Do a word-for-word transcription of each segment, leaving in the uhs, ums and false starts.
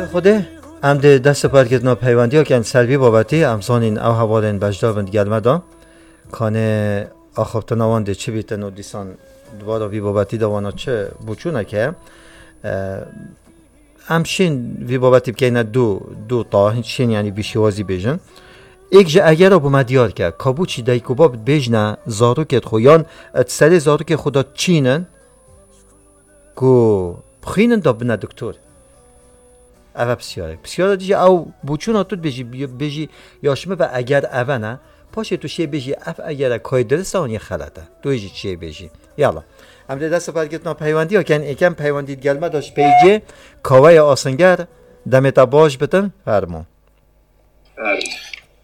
Xwedê, em dê dest û parkirina peywendiya ken ser vî babetî, em zanîn ew hevalên beşdar bin digel me de. Kanê axaftina wan dê çi bîtin û dîsan dubara vî babetî de wana çi bûçûnek heye. E, em şên vî babetî bikeyne du, du ta, hiç şên, yanî bî şêwazî bêjin. Êk ji egera bo me diyar ke, ka bûçî dayik û bab dibêjne zarokê xwe yan, e, di serê zarokê xwe de çînin, ku bixwînin da bine doktor. Ev e pisyarek. Pisyara dî jî ew bûçûna tu dibêjî, bêjî ya ji min ve eger ev e ne. Paşê tu şê bêjî ev egere kayê dirist e an yê xelet e. Tu jî çiyê bêjî. Yala. Em dê dest û parkirina peywendiya ken êkem peywendî digel me de ji peycê Kaweya Asinger demê te baş bitin. Fermo.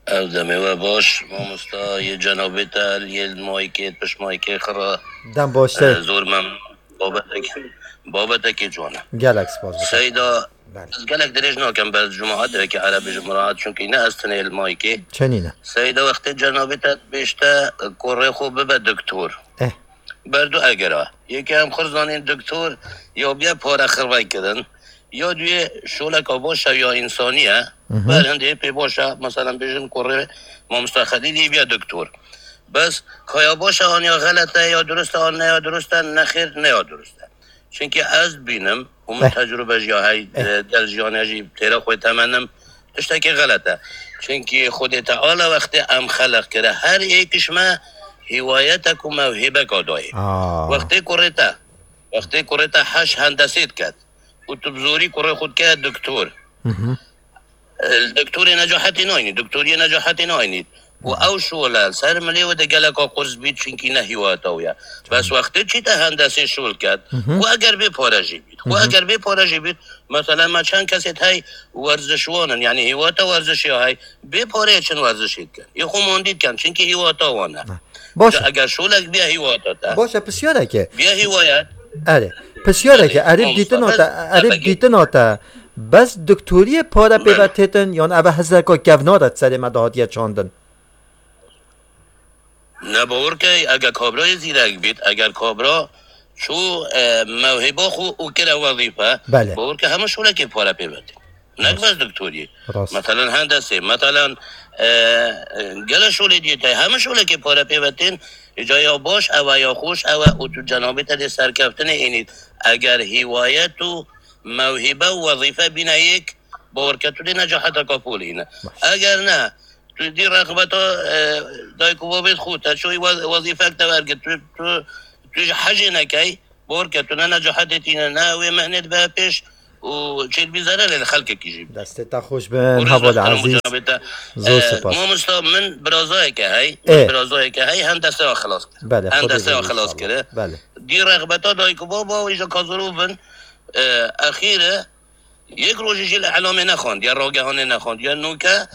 Ev demê we baş, mamosta, yê cenabê te, yê mayikê, pişt mayikê xira. Dem baş te. E, zor mem-, babetekî, babetekî ciwan e. Gelek spas bo te. Seyda, Belê. Ez gelek dirêj nakim ber cemaat, wekî Erebî ji muraat, çunkî ne ez tenê li mayikê. Çenî ne? Seyda, wextê cenabê te dibêjte, kurê xwe bibe doktor. Eh. Ber du egera. Yekê em xwe zanîn doktor, ya biye pare xirvey kirin, ya duyê şoleka baş e ya însanî ye. Mhm. Ber hindê pê baş e, meselen bêjin kurê Mamosta Xelîlî biye doktor. Bes ka ya baş e an ya xelet e, ya durust e an ne ya durust e, ne xêr ne ya durust e. Çunkî ez dibînim, û min Eh. tecrûbe jî ya hey, Eh. e, gel jiyane jî têra xwe temenim, tiştekî xelet e. Çunkî Xwedê Teala wextê em xeleq kire, her êk ji me hîwayetek û mewhîbeka dayê. Aa. Wextê kurê te, wextê kurê te heş hendesê diket û tu bi zorî kurê xwe dike doktor. Mhm. Li doktorê necahetê nayînî, doktoriyê necahetê nayînî. Û ew şole ser milê wê de geleka qurz bît, çunkî ne hîwayeta wê ye. Bes wextê çîte hendesê şol ket, Mhm. xwe eger bê pare jî bît. Xwe Mhm. eger bê pare jî bît, mesela me çend kesê hey werzişwan in, yanî hîwayeta werzişê ya hey, bê pareyê çin werzişê dikin. Yê xwe mandî dikin, çunkî hîwayeta wan e. Baş e. Eger şolek biye hîwayeta te. Baş e, pisyareke. Biye hîwayet. Erê. Pisyareke, Erê, erê mamosta, dîtina te, bes erê tepegî. Dîtina te. Bes doktoriyê pare pê Belê. Ve têtin, yan ev hezeka kevnar e serê me de hatiye çandin? Ne, bawer ke, eger kabrayê zîrek bît, eger kabra çû, e, mewhîba xwe û kire wezîfe, Belê. Bawer ke hemû şolekê pare pê ve tê. Nek Rast. Bes doktoriyê. Rast. Meselen hendesê, meselen, e, e, gele şolê diyê te, hemû şolekê pare pê ve tên, îca ya baş ew e, ya xweş ew e, û tu cenabê te dê serkeftinê înît. Eger hîwayet û mewhîbe û wezîfe bîne yek, bawer ke tu dê necaheteka polî hîne. Baş. Eger ne, tu dî rexbeta, e, dayik û babê xwe, te çoyî wez-, wezîfek te wergir, tu, tu, tu ji hecê nekey, bawer ke tu ne necahetê tîne, ne wê mehnê dibe pêş û çêdibî zererê li xelkekî jî. Destê te xweş bin, Û rêz heval bexterim û Ezîz. Cenabê te. Zor E, spas. Mamosta, min birazayeke hey, Ê. Min birazayeke hey, hendeseya xilas kir. Belê, Xwedê Hendeseya bî xilas inşallah. Kir. Belê. Dî rexbeta dayik û baba wî ji kazirû bin, e, exîre, yek rojî jî li elamê nexwend, ya ragehanê nexwend, ya nûke,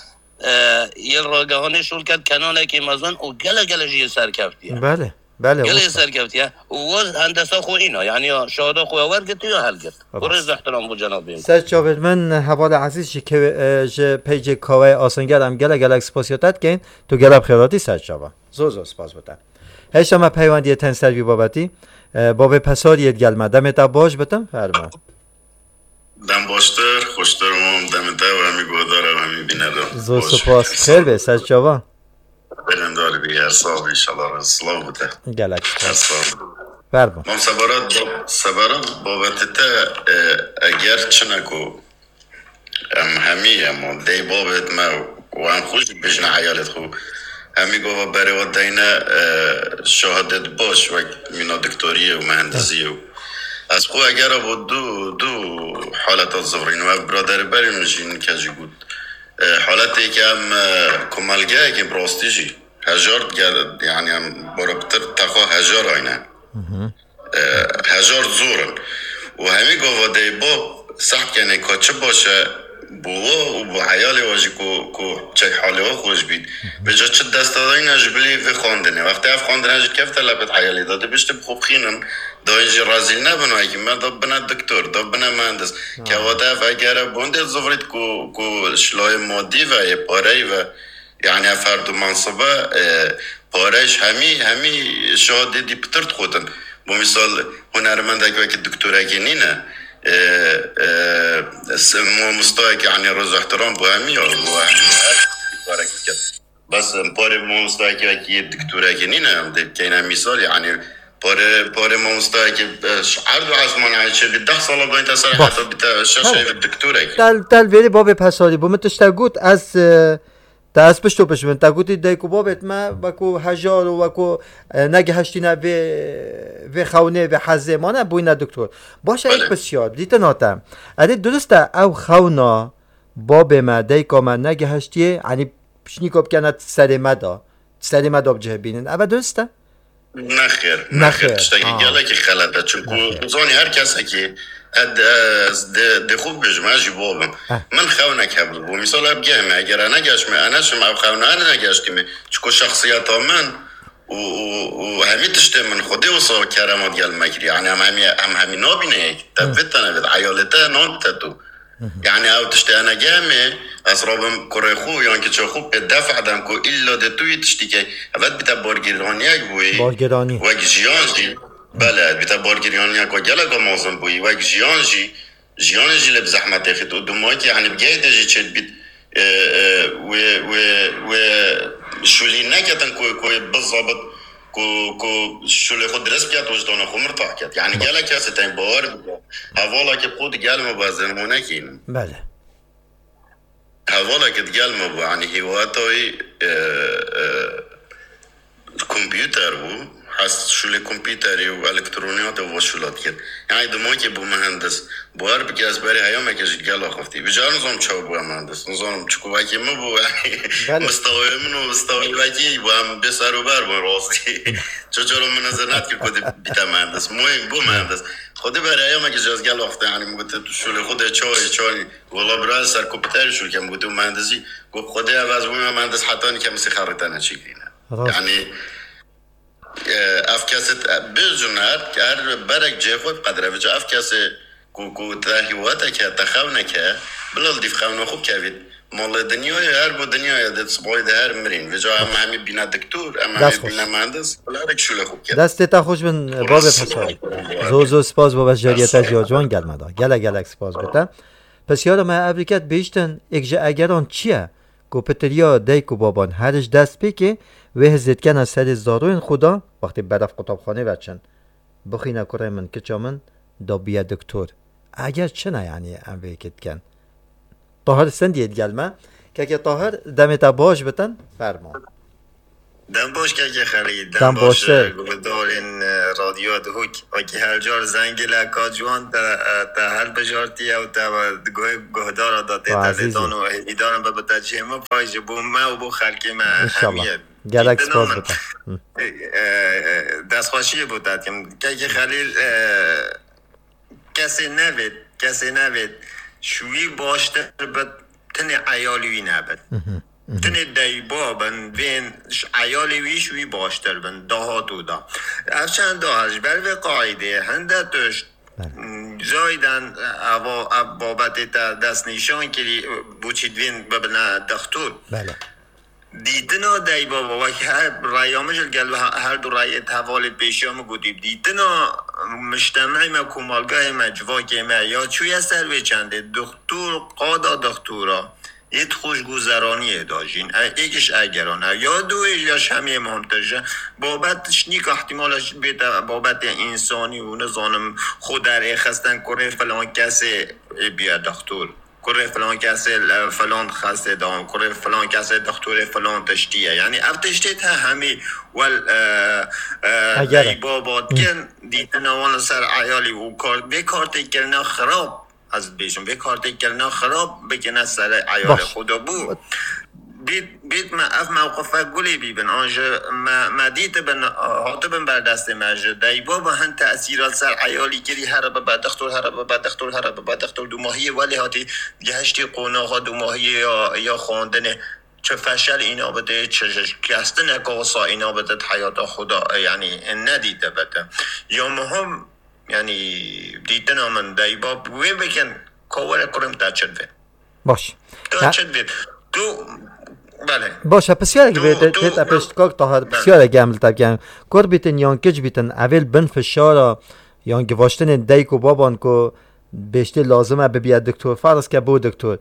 e, yê ragehanê şol ket kenalekî mezin û gele gele jî yê serkeftiye. Belê, belê, Gele yê wisa. Serkeftiye. Û wez hendesa xwe îna, yanî ya şahada xwe ya wergirtiye ya helgirt. Û Rast. Rêz ehtiram bo cenabê min. Ser çavên min, hevalê Ezîz ji kew-, e, ji peycê Kaweyê Asinger em gele gelek spasiya te dikeyn. Tu gelek xêratî ser çava. Zor zor spas bo te. Hêşta me peywendiyê ten ser vî babetî. E, babê Pesariyê digel me. Demê te baş bitim, fermo. Dem baştir, xweştir mam, demê te û hemî guhdar û hemî bîner de. Zor Baş. Spas. Xêr be, ser çava. Belendar bî, her sal inşallah, silav bide. Gelek Her spas. Sal. Fermo. Mam sebarat, sebarat babetê te, e, eger çine ku em hemî, em dê babet me û em xwe jî bêjine eyalêt xwe. Hemî gava berê we deyne, e, şahadet baş wek mîna doktoriyê û mehendisiyê û ez xwe eger bo du, du haleta zivrînim. Ev biraderê berê min jî nike jî got. E, haletê ke em, e, komelgeyekê bi rastî jî hejar gel, yani em bara pitir texwa hejar ayne. E, hejar zor in. Û hemî gava dey bab seht kenê ka çi baş e bo we û bo eyalê we jî ku, ku çek halê we xweş bît. Vêca çi destadayîna ji bilî vê xwendinê. Wextê ev xwendine jî kefte lepêt eyalê de, dibiştin bi xwe bixînin, dayîn jî rezîl nebin, wekî me da bine doktor, da bine mehendis. Ha. Kevate ev egere bondê zivrît ku, ku şilayê madî ve, yê pareyî ve, yani ev her du mensibe, e, pareyş hemî, hemî şahadê dî pitir dixutin. Bo misal, hunermendek wekî doktorekî nîne, e, e, s-, mamostayekî, yanî, rêz û ihtiram bo hemî ya, bo hemî her karekî dike. Bes, em parê mamostayekî, wekî doktorekî nîne, em dê bikeyne mîsal, yanî, parê, parê mamostayekî, e, ş-, erd û esman, yanî, çi bî deh sala dayîn te ser, Baş. Heta bîte şeş Tamam. Ey bi doktorekî. Tel, tel verî babê Pesalî bû. Min tiştek got, ez, e, te ez pişto pişt bin. Te gotî dayik û babêt me, wekû hejar û wekû, e, negihiştîne vê, vê xewnê, vê hezê mane, bûyne doktor. Baş e, Belê. Êk pisyar, dîtina te. Erê, durist e, ew xewna babê me, dayika me negihiştiye, yanî pişnîka bikene serê me de, serê me de bi cih bînin. Eve durist e? Nexêr, Nexêr. Nexêr, tiştekî Ha. gelekî xelet e. Çunku Nexêr. tu zanî her kesekî, e, de, de, de xwe bibêjim, ez jî bo bim. Heh. Min xewnek hebû. Bo mîsal, ev geh me, eger e negeşme, e neşim, ev xewna e negeştî me. Çunku şexsiyeta min û, û, û hemî tiştê min Xwedê wisa keremat gel me kiriye. Yanî em hemî, em hemî nabîne yek. Te Hı. vê tene vê, eyalê te nan te tu. Hı hı. Yanî ew tiştê ene geh me, ez rabim kurê xwe yan kiça xwe pê def edem ku îlla de tu yî tiştî key. Evet bîte bargêraniyek bûyî. Bargêranî. Wek jiyan jî. Belê, bîte bargêraniyek ku gelek mezin bûyî. Wek jiyan jî, jiyanê jî lê bi zehmetê xît û dumahîkî, yanî bi gehê te jî çêdibît, e, e, wê, wê, wê şûlî neketin ku, ku bizabit, ku, ku şûlê xwe dirist biket, wijdana xwe mirtah ket. Yanî Ba- gelek kesê tên bawer bike. Hevalekî qût gel me bû, ez ê nimûnekî înim. Belê. Hevalekî digel me bû, yanî hîwatayî, e, e, kompîuter bû. Hes şûlê kompîuterî û elektroniyatê û va şûla dikir. Yanî dimokê bû muhendis. Bawer bike ez berê heyameke jî digel axiftiye. Vîca nizanim çawa bû muhendis. Nizanim çiku wekî min bû, yanî Belê. mistewayê min û mistewayê wekî bû, em bê ser û ber bûn rastî. Ço ço min nizir nedikir ku dê bîte muhendis. Muhîm bû muhendis. Xwedê berê heyameke jî ez gel axiftiye, yanî min gote tu şûlê xwe de çawa yî, çawa nî. Wela bira ez ser kompîuterî şûl kem, gotu muhendisî. Got Xwedê ev ez bûme muhendis heta nîke min sî xerîtene çêkirîne. Rast. Yanî, e, ev kesê, e, bêjin her, her berek cihê xwe qedre bice. Ev kesê ku, ku te hîwateke, te xewneke, bila li dîv xewna xwe bikevît. Malê dinyayê, her bo dinyayê de sibahî de her mirîn. Vêca em hemî bîne diktor, em hemî Dest xweş. bîne muhendis, bila herek şûlê xwe biket. Destê te xweş bin, babê Pesalî. Zor zor spas bo beşdariyeta Sağ ol. Ciya Ciwan gelme da. Gelek gelek spas bo te. Pisyara me ev diket bihiştin, êk ji egeran çi ye? Ku pitiriya dayik û baban her ji dest pêkê, wê hizê dikene serê zaroyên xwe de, wextê beref qutabxanê veçin. Bixwîne kurê min, kiça min, da biye doktor. Eger çi ne, yanî em vê yekê dikin. Tahir Sendiyê digel me. Keke Tahir, demê te baş bitin, fermo. Dem baş keke Xelîl, dem Dem baş, baş e. e, guhdarên, e, Radyo Duhok. Wekî her car zengileka ciwan te, e, te helbijartiye û te, e, guh-, guhdara da tê Wa te azîzî. lêdan û hêvîdaran be bi te cihê min pay ji bo me û bo xelkê me İnşallah. hemiyê. Gelek Dîtina spas min. bite. Hı. E, e, destxweşiyê bo te dikim. Keke Xelîl, e, kesê nevêt, kesê nevêt. Ji wî baştir bit, tinê eyalî wî nebit. Hı hı. Hı hı. Tinê deyba bin, vên ş-, eyalê wî ji wî baştir bin, dahatû da. Ev çend daha ji ber vê qaîdê hinde tişt, Belê. m, zayden eva, ev babetê te destnîşan kirî, boçî divên bibine dextûr. Belê. Dîtina deyba wek her raya min ji gel her, her du rayê hevalê pêşiya min gotî. Dîtina miştemê me, komalgahê me, civakê me ya çûye ser vê çendê. Dextûr, qada dextûra. Yê xweşguzeraniye da jîn. E, êk ji egeran e. Ya duê ya ji hemiyê muhimtir ji. Babet şnîka ihtimala ji bête babetê însanî û nizanim xwe derêxistin kurê filan kesê ê biye dextûr. Kurê filan kesê, e, filan xestê da, kurê filan kesê dextûrê filan tiştî ye. Yanî ev tiştê te hemî wel, e, e, Eger. deyba bad kin, dîtina wan li ser eyalî û kar-, vê kartê kirine xirab. Ez dibêjim, vê kartê kirina xirab bikine serê eyalê Baş. xwe de bû. Bît, bît me ev mewqife gulê bîbin, an ji me, me dîtibin, hatibin ber destê me, ji deyba bi hin tesîra ser eyalî kirî, here bibe dixtor, here bibe dixtor, here bibe dixtor, dumahiyê welê hatî gehiştî qonaxa dumahiyê ya, ya xwendinê. Çi feşel îna bide, çi şikestineke wisa îna bide di heyata xwe de, yanî nedîte bide. Ya muhim, Yanî dîtina min deyba wê bikin, ka were kurê min te çi divê. Baş. Te Ya- çi divê? Tu, belê. Baş e, pisyarek Tu, vê te, tu, te, te tu, pêşt kak Tahir, belê. pisyarek em li te bikin. Kur bîtin yan kiç bîtin, evê li bin fişara yan givaştinên dayik û baban ku Bêştê lazim e bibiye doktor, ferz ke bo doktor.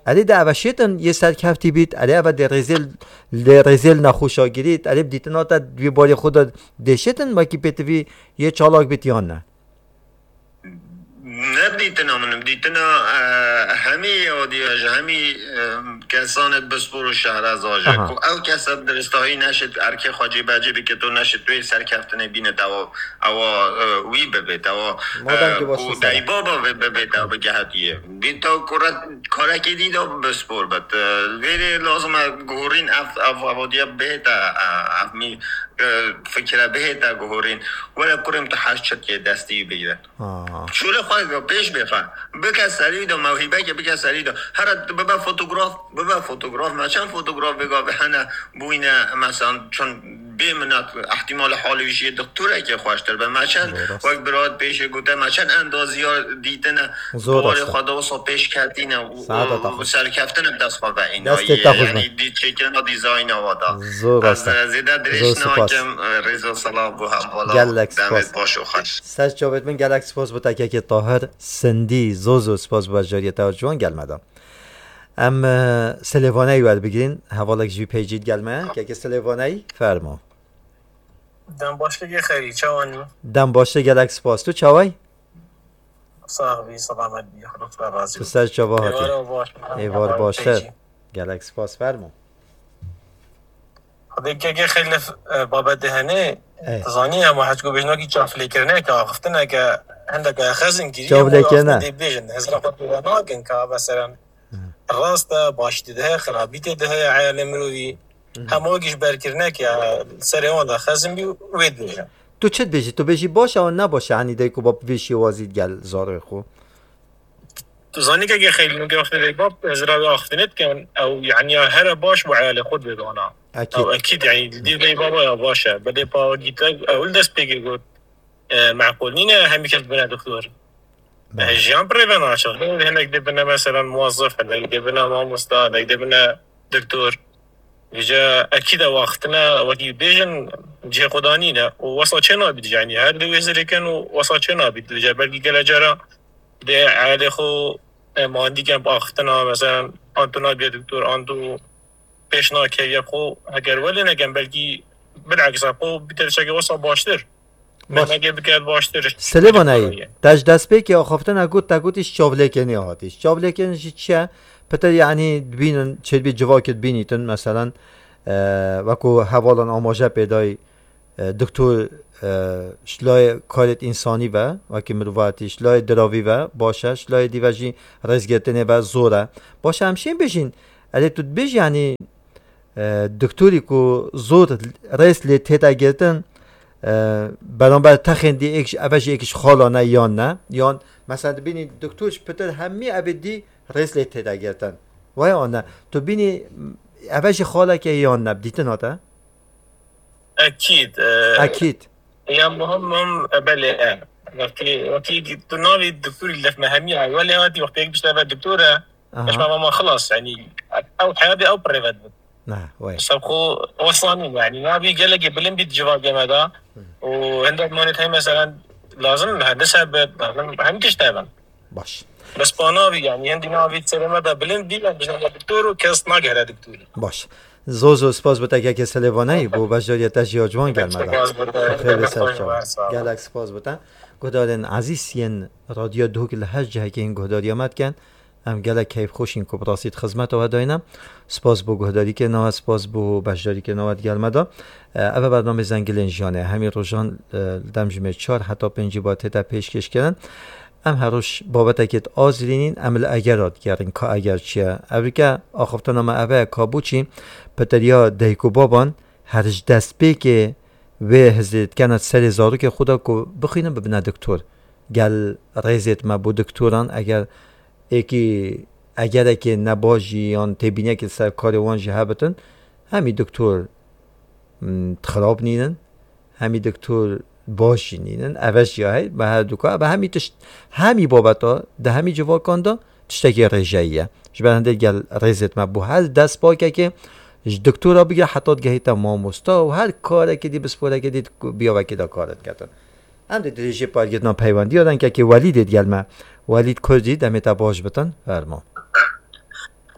Erê de eve şêtin yê serkeftî bît, erê eve dê rêzê, dê rêzê li nexweşa girît, erê bi dîtina te di wî barê xwe de dê şêtin, wekî pêtivî yê çalak bît yan ne? Ne dîtina min, dîtina, e, hemî yadiya ji hemî, e, kesanê di pispor û şehre zaje. Aha. Ku ew kese bi diristahî neşit erkê xwe cêbecê bike, tu neşit wê serkeftinê bîne, te ewa, ewa, e, wî bibê, te ewa, Madem e, ki baş ku ser. Deybaba vê bibê, te bigehetiye. Dîta kure, karekê dî de bi spor bit. E, vêrê lazim e guhorîn ev, ev, ev diye bihête, e, ev mî, e, fikre bihête guhorîn. Were kurê min tu heş çetiyê destî bigire. Ha. Şûlê xwe pêş bêxe. Bike serî de, mewhîbeke bike serî de. Here tu bibe fotograf, bibe fotograf. Me çend fotograf vê gavê hene bûyne, mesela çend bê minnet, ihtimalê halê wî jî doktorekê xweştir be. Me çend Doğru. wek birat pêşê gote, me çend endaziya dîtine, Zor bawarê rast e. xwe de wisa pêş ketîne û, Saeta û, te û xweş. serkeftin bi dest xwe ve îna Destê ye. te xweş be. Yanî dî çêkirina dîzayna wa da. Zor Ez, rast e. e, zêde dirêj Zor spas. nakim, e, rêz û selam bo hemvala. Gelek Demê spas. baş û xweş. Ser çavêt min gelek spas bo te kekê Tahir Sindî. Zor zor spas bo beşdariyê te ciwan gelmeda. Em, e, Silêvaneyî werbigirin. Hevalek ji vî peycî digel me. Kekê Silêvaneyî, fermo. Dem baş kekê Xeyrî, çawan î? Dem baş te, gelek spas. Tu çaway? Sax bî, selamet bî, Xwedê razî Tu bî. ser çava hatî. Êvar baş. Êvar Heval baştir. peycî. Gelek spas, fermo. Xwedê kekê Xeyrî, e, babetê hene, Ey. tu zanî, hema heta ku bêjin wekî çavlêkirineke, axiftineke, hindeke xezin kirî, Çavlêkirine. hema dê bêjin, hizra xwe pêve nakin ka, mesela, Hı. rast e, başî tê de heye, xirabî tê de heye, eyalê mirovî. Hı. Hema wekî ji berkirinek ya, serê wan de xezin bî, wê dibêje. Tu çi dibêjî? Tu bêjî baş e an ne baş e? Hanî dayik û bab vê şêwazî digel zarê xwe. Tu zanî kekê Xeylî, nûke wextê dayik bab, ez ra wê axiftinê dikim, ew, yanî ya here baş bo eyalê xwe dibê dana. Ekîd. Ew ekîd, yanî, dî dayik baba ya baş e. Belê pa wekî te, ew li dest pêkê got, e, meqûl nîne, hemî kes bine doktor. Belê. E, jiyan pirê ve naçe. Hinek dê bine, mesela, muwazzif, hinek dê bine mamosta, hinek dê bine doktor. Vêca ekîd e, wextine wekî bêjin cihê xwe danîne û wesa çê nabît, yanî her dê wê zirêkin û wesa çê nabît. Vêca belkî gelek cara dê eyalê xwe, e, mandî ken bi axiftina, mesela, an tu nabiye doktor, an tu pêş nakevî xwe, heger welê nekin, belkî bileksa xwe bîte tiştekê wesa baştir. Baş. Mehmegê biket baştir. Silêvanayî, te ji destpêkê axaftina got, te gotî ji çavlêkenê hatî. Ji çavlêken jî çi ye? Pitir, yanî, dibînin, çêdibî civakê dibînîtin, meselan, e, wekû hevalan amaje pê dayî, e, doktor, e, ji layê karêt însanî ve, wekî mirovatî, ji layê diravî ve baş e, ji layê dî ve jî rêzgirtinê ve zor e. Baş e, em şên bêjîn, erê tu dibêjî, yanî, e, doktorî ku zor rêz lê tête girtin, e, beramber texên dî êk ji, eve jî êk ji xalan e yan ne? Yan, mesela, dibînî doktor ji pitir hemî evê dî rêz lê tête girtin. Waya an ne? Tu bînî eve jî xaleke yan ne? Bi dîtina te? Ekîd, e, Ekîd. Ya muhim, muhim, e, belê, e. Wekî, wekî tu navî doktorî lef me hemî, e, welê hatî wextê yek bişte ve doktor e, Aha. Eş me ma xilas, yanî, ew heyatê ew pirê ve dibin. Ne, wey. Seb xwe wesanîn, yanî, navî gelekê bilind bît civakê me de. Hı. Û hindek manê hey, mesela, lazim mühendis hebit, lazim hemî tişt hebin. Baş. Bes pa navî, yanî, hindî navî serê me de bilind bî, em bijne doktor û kes nagere doktor. Baş. Zor zor spas bo te kekê Silêvanayî bo beşdariyê te jî ya ciwan gel me de. Spas bo te. Xêr li ser çav. Sağ ol. Gelek spas bo te. Guhdarên ezîz yên Radyo Duhok li her cihekê yên guhdariya me dikin. Em gelek keyfxweş in ku bi rastî di xizmeta we de ne. Spas bo guhdarîkirina we, spas bo beşdarîkirina we digel me de. E, ev e bernamê Zengilên Jiyanê. Hemî rojan, e, li dem jimê çar heta pêncî ba tête pêşkêşkirin. Em her roj babetekê diazirînîn, em li egera digerin ka eger çi ye. Evrike axaftina me ev e ka bo çi piteriya dayik û baban her ji destpêkê wê hizê dikene serê zarokê xwe de ku bixwînin bibine doktor. Gel rêzêt me bo doktoran, eger êkî egerekê nebaş jî yan têbîniyekê ser karê wan jî hebitin, hemî doktor, mm, xirab nînin, hemî doktor baş jî nînin. Eve jî ya hey, me her duka, eve hemî tişt, hemî babeta, di hemî civakan de tiştekî rêjeyî ye. Ji ber hindê gel rêzêt me bo her destpakekê, ji doktora bigire heta digehîte mamosta û her karekê dî, pisporekê dî, biyavekê de kar diketin. Em dê dirêjê pargirtina peywendiya den kekê Welîdê digel me. Welîd Kurdî, demê te baş bitin, fermo.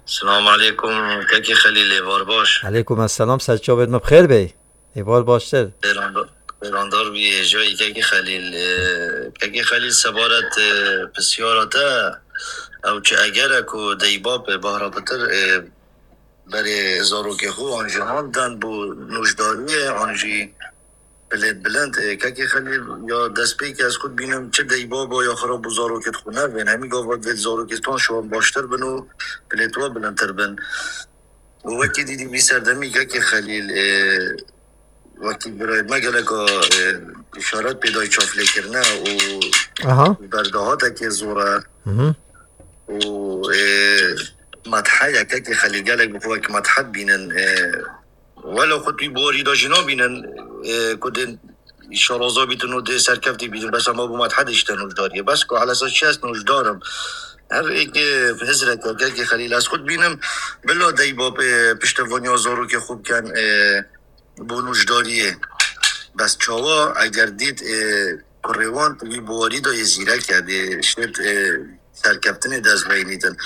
Selamu aleykum, kekê Xelîl, êvar baş. Aleykum esselam, ser çavêt me bi xêr bey. Êvar baştir. Xêranda-, xêrandar bî, hêja yî kekê Xelîl. E, kekê Xelîl, sebaret, e, pisyara te, ew çi egere ku deybab, e, Bahra Pitir, e, berê zarokê xwe an jî han dan bo nûjdariyê, an jî bilêt bilind, e, kekê Xelîl, ya destpêkê ez xwe dibînim çi deybaba ya xwe re bo zarokêt xwe nevên. Hemî gava divêt zarokêt wan şiwan baştir bin û bilêt wa bilindtir bin. Û wekî dî dî vî serdemî kekê Xelîl, e, wekî birayê me geleka, e, îşaret pê dayî çavlêkirine û Aha. berdahatekê zor e. Hı hı. Û, e, medhe ye kekê Xelîl, gelek bi xwe wekî medhe dibînin. E, wela xwe tu wî biwarî de jî nabînin, e, ku dê şaraza bîtin û dê serkeftî bîtin. Bes ema bo medhe dê işte nûjdariyê. Bes ku elesa çi ez nûjdar im. Her êkê hizreke kekê Xelîl ez xwe dibînim. Bila deybab, e, piştevaniya zarokê xwe bikin, e, bo nûjdariyê. Bes çawa eger dît, e, kurê wan di wî biwarî de yê zîrek e, dê şêt, e, serkeftinê dest veynîtin.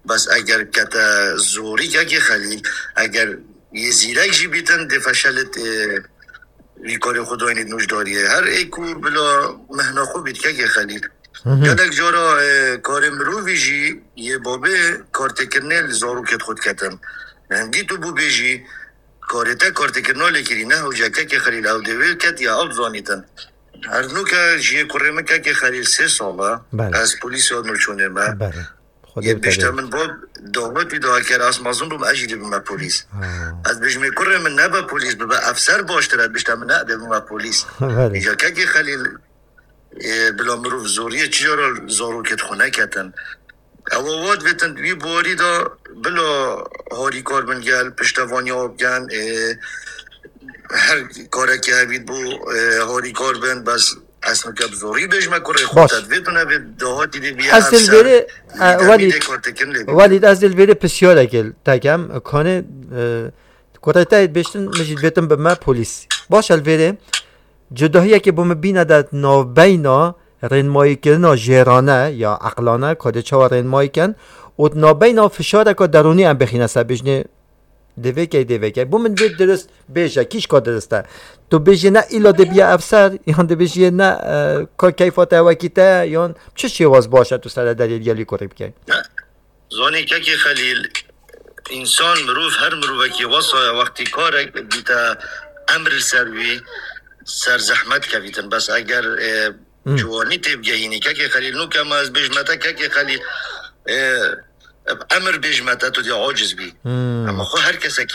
Bes eger kete zorî kekê Xelîl, eger yê zîrek jî bîtin, dê feşelit, e, wî karê xwe dayînît nûjdariyê. Her ê ku bila mehna xwe bît kekê Xelîl. Hı hı. Gelek cara, e, karê mirovî jî yê babê kartêkirinê li zarokêt xwe diketin. Hingî tu bû bêjî, karê te kartêkirina lê kirî, ne hewce kekê Xelîl ew dê wê ket ya ew dizanîtin. Her nûke ji yê kurê min kekê Xelîl sê sal e. Belê. Ez polîs ya nûçûnê me. Belê. Xwedê Yê bite bişte bê. Min bab daxwetî da ker ez mezin bûm ez jî dê bime polîs. Ha. Ez bêjim ê kurê min nebe polîs, bibe efser baştir e, bişte min ne dê bime polîs. Belê. Îca kekê Xelîl, e, bila mirov zoriyê çi cara zarokêt xwe neketin. Ewa wat vetin wî biwarî da bila harîkar bin gel, piştevaniya bikin, e, her karekî hevît bû, e, harîkar bin, bes ez nike bi zorî bêjime kurê xwe Baş. Te divêt û nevêt dahatî dê bîye Ez dê li efser, vêrê, e, demî Welîd, dê kartekin lê bî. Welîd, ez dê li vêrê pisyarek te kem, kanê, e, kurê te yê dibêjtin, min jî dibêtin bi me polîs. Baş e li vêrê, cudahiyekê bo min bîne de navbeyna rênmayîkirina jêrane ya eqlane, ka dê çawa rênmayî ken, û di navbeyna fişareka derûnî em bixîne ser bêjinê, dê vê key, dê vê key. Bo min vê dirist bêje, kîşka dirist e. Tu bêjî ne îla dê bîye efser, yan dê bêjî ne, e, ka keyfa te wekî te, yan çi şêwaz baş e tu serederiyê gelî kurê bikey? Zanî kekê Xelîl, însan, mirov, her mirovekî wesa ye, wextî karek bîte emr li ser wî, ser zehmet kevîtin. Bes eger, e, Hmm. ciwanî têbigehînî, kekê Xelîl, nûke ma ez bêjime te, kekê Xelîl, e, emr bêjime te, tu dê aciz bî. Hmm. Ama xwe her kesek